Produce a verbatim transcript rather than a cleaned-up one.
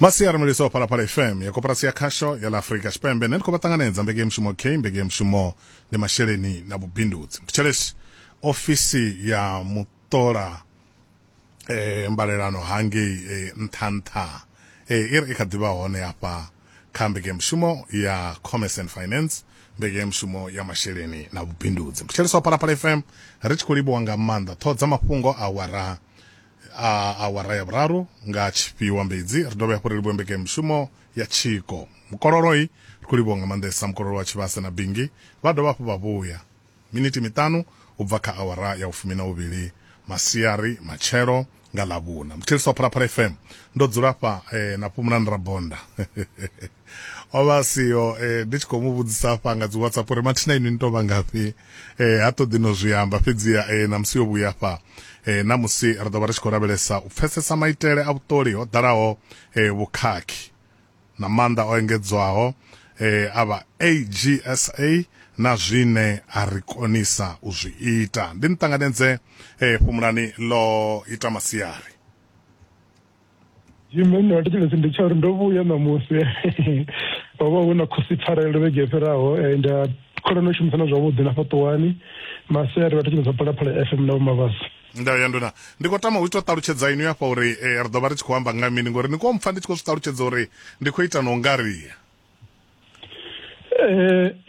Masiari mulisa wa Phalaphala F M ya Koporasi ya Khasho ya ḽa Afrika Tshipembe. Nṋe ndi khou vha ṱanganedza mbekanyamushumo k mbekanyamushumo ndi masheleni na vhubindudzi. Mthetshelesi, ofisi ya muṱola eh, mbalelano hangei eh, nṱha nṱha eh, i ri i kha ḓivha hone hafha kha mbekanyamushumo ya Commerce and Finance, mbekanyamushumo ya masheleni na vhubindudzi. Mthetshelesi wa Phalaphala F M, ri tshi khou livhuwa nga maanḓa ṱhoho dza mafhungo awara a awara ya vhuraru nga tshifhiwa mbedzi. Ri dovhe hafhu ri livhuwe mbekanyamushumo ya tshiko mukololoi, ri khou livhuwa nga maanḓesa mukololo wa Tshivhase na Bingi. Vha dovha hafhu vha vhuya miniti miṱanu u bva kha awara ya ufumi na uvhili masiari matshelo nga Ḽavhuna. Mthetshelesi wa Phalaphala F M, ndo dzula fha eh, na Fhumulani Rabonda, o vha siho eh, ndi tshi khou mu vhudzisa hafha nga dzi WhatsApp uri mathina inwi ni to vha ngafhi, eh, ha ṱoḓi no zwi amba, fhedziha eh, na musi yo vhuya fha eh, na musi ri ḓo vha ri tshi khou lavhelesa u pfesesa maitele a vhuṱoli ho ḓalaho eh, vhukhakhi na maanḓa o engedzwaho eh, a vha A G S A na zwine a ri konisa u zwi ita. Ndi ni ṱanganedze eh, Fhumulani, ḽo ita masiari. Jimmy, ndo thetshelesi ndi tsha uri ndo vhuya ṋamusi. Ho vha hu na khosi pfarelo vhege yo fhiraho, nda khona u shumisana zwavhuḓi na Fhaṱuwani. Masiari vha thetshelesa Phalaphala F M na Vho Mabasa. Ndayo ya nduna, ndi khou tama u ita ṱalutshedza inwi hafha uri eh, ri ḓo vha ri tshi khou amba nga mini, ngori ni khou mpfa ndi tshi khou zwi ṱalutshedza uri ndi khou ita no ngaria. Eh.